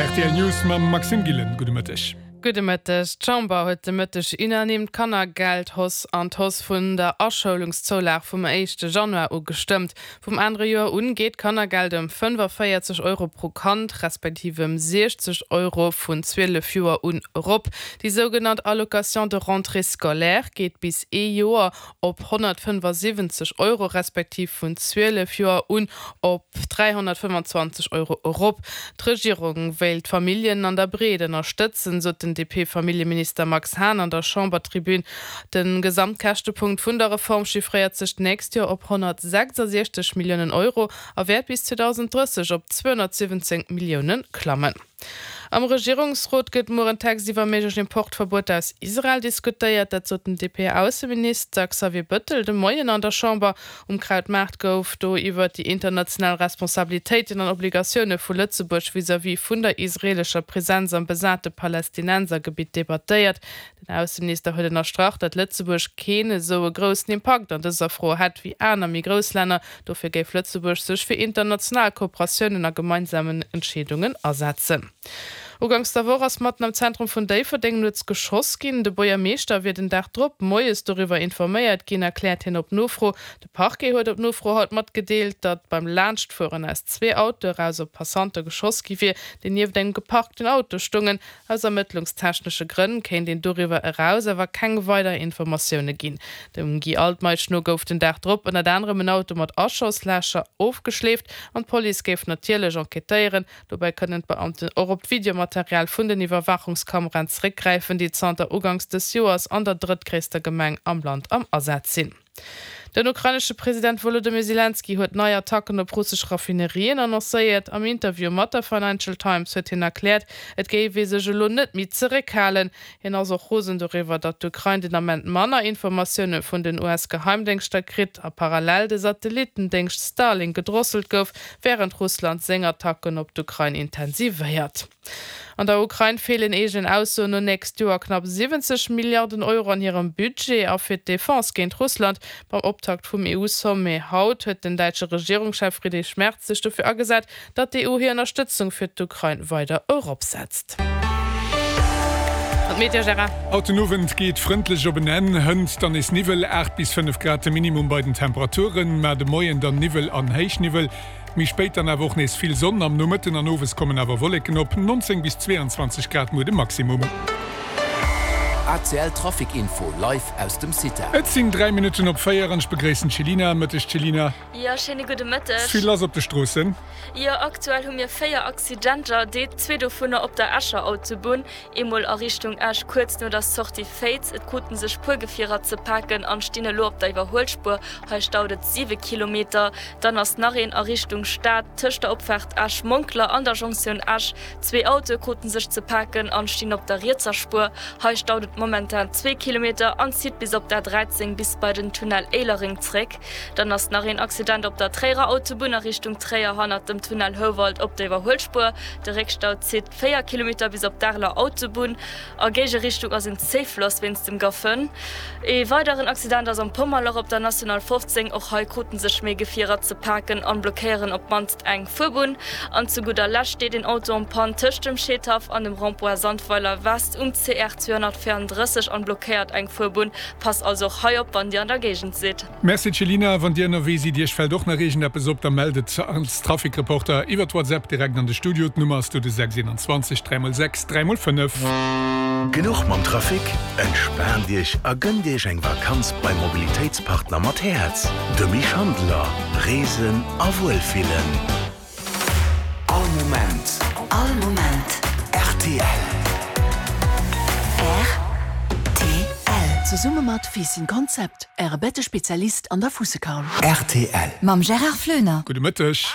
Rtl News mam Maxime Gillen. Gudde Mëtteg. Gudde Mëtteg. D'Chamber huet de Mëtteg unanime d'Kannergeldhausse an d'Hausse vun der Aschoulungszoulag vum éischte Januar u gestëmmt. Vum anere Joer un geet d'Kannergeld ëm 45 Euro pro Kand, respektiv ëm 60 Euro vun 12 Joer un erop. Déi sougenannt Allocation de rentrée scolaire geet bis ee Joer op 175 Euro, respektiv vun 12 Joer un op 325 Euro erop. D'Regierung wéilt d'Familljen an der Breet ënnerstëtzen, sot den DP-Familljeminister Max Hahn an der Chambertribün. De Gesamtkäschtepunkt vun der Reform chiffréiert sech d'nächst Joer op 166 Milliounen Euro a wäert bis 2030 op 217 Millioune klammen. Am Regierungsrot gëtt muer en Text iwwer méiglech Importverbueter aus Israel diskutéiert. Dat sot den DP-Ausseminister Xavier Bëttel de Moien an der Chamber. Um Krautmaart gouf do iwwer déi international Responsabilitéiten an Obligatioune vu Lëtzebuerg vis-à-vis vun der israeelescher Presenz am besate Palästinensergebitt debattéiert. Den Ausseminister huet ënnerstrach, datt Lëtzebuerg keen esou e groussen Impakt an dëser Fro hätt wéi aner méi grouss Länner. Dofir géif Lëtzebuerg sech fir international Kooperatiounen a gemeinsamen Entscheedungen asetzen. Uganks der Woch ass matten am Zentrum vun Déifferdeng nuets geschoss ginn. De Buergermeeschter wier den Dag drop moies doriwwer informéiert ginn, erkläert hien op Nofro. De Parquet huet op Nofro haut matgedeelt, datt beim Laanschtfueren aus zwee Autoe eraus op Passante geschoss gi wier, déi nieft engem geparkten Auto stoungen. Aus ermëttlungstechnesche Grënn kéint een doriwwer eraus awer keng weider Informatioune ginn. Dem Guy Altmeisch no gouf den Dag drop ënnert anerem en Auto mat Aschoslächer ofgeschleeft an d'Police géif natierlech enquêtéieren. Dobäi kënnen d'Beamten och op d'Videomaterial vun den Iwwerwaachungskameraen zeréckgräifen, déi zanter uganks dës Joers an der drëttgréisster Gemeng am Land am Asaz sinn. Den ukrainesche President Wolodymyr Selenskyj huet nei Attacken op russesch Raffinerien annoncéiert. Am Interview mat der Financial Times huet hien erkläert, et géif ee sech elo net méi zeréckhalen. Hien ass och rosen doriwwer, datt d'Ukrain den Ament manner Informatioune vun den US-Geheimdéngschter kritt a parallel de Satellittendéngscht Starlink gedrosselt gouf, wärend Russland seng Attacken op d'Ukrain intensivéiert. An der Ukrain feelen eegenen Aussoen no nächst Joer knapp 70 Milliarden Euro an hirem Budget a fir d'Defense géint Russland. Beim Optakt vum EU-Sommet haut huet den däitsche Regierungschef Friedrich Merz sech dofir agesat, datt d'EU hir Ënnerstëtzung fir d'Ukrain weider eropsetzt. An d'Meteo, Gérard? Haut den Owend geet frëndlech op en Enn, hënt dann nees Niwwel, 8 bis 5 Grad de Minimum bei den Temperaturen, mä de Moien dann Niwwel an Héichniwwel. Méi spéit dann awer och nees vill Sonn, am Nomëtten an Owes kommen awer Wolleken op, 19 bis 22 Grad muer de Maximum. ACL Trafic Info live aus dem CITA. Et sinn 3 Minutten op 4 an ech begréissen d'Chelina. Mëtteg Chelina. Jo, schéine gudde Mëtteg. Vill lass op de Stroossen. Jo, aktuell hu mir 4 Accidenter, déi zwee dovunner op der Escher Autobunn. Eemol a Richtung Esch, kuerz no der Sortie Féiz. Et kruten sech puer Gefierer ze paken an stinn elo op der Iwwerhuelspuer. Hei staut et 7 Kilometer. Dann ass nach een a Richtung Stad, tëscht der Opfaart Esch-Monkler an der Jonktioun Esch. Zwee Autoe kruten sech ze paken an stinn op der rietser Spuer. Hei staut et momentan zwee Kilometer an zitt bis op d'A 13 bis bei den Tunnel Éilereng zréck. Dann ass nach een Accident op der Tréierer Autobunn a Richtung Tréier hannert dem Tunnel Houwald op der Iwwerhuelspuer. De Réckstau zitt 4 Kilometer bis op d'Areler Autobunn. A Géigerichtung ass en Zéifloss wéinst dem Gaffën. Ee weideren Accident ass am Pommerloch op der National 15. Och hei kruten sech méi Gefierer ze paken an blockéieren op d'mannst eng Fuerbunn. An zu gudder Lescht steet een Auto en Panne tëscht dem Scheedhaff an dem Rond-point Sandweiler West um CR 234 an blockéiert eng Fuerbunn. Passt also och hei op wann dir an der Géigend sidd. Merci Céline, wann dir ënnerwee sidd, iech fält och nach iergendeppes op, da mellt et als Trafikreporter iwwert WhatsApp direkt an de Studio. D'Nummer ass do de 6 21 3 x 6 3 x 5. Genuch mam Trafic? Entspaant Iech a gënnt Iech eng Vakanz beim Mobilitéitspartner mat Häerz, dem Misch Handeler. Reesen a Wuelfillen. All Moment. All Moment. Rtl. Rtl. Zesumme mat Fiissen Concept, Äre Bettespezialist an der Fussekaul. Rtl. Mam Gérard Floener. Gudde Mëtteg.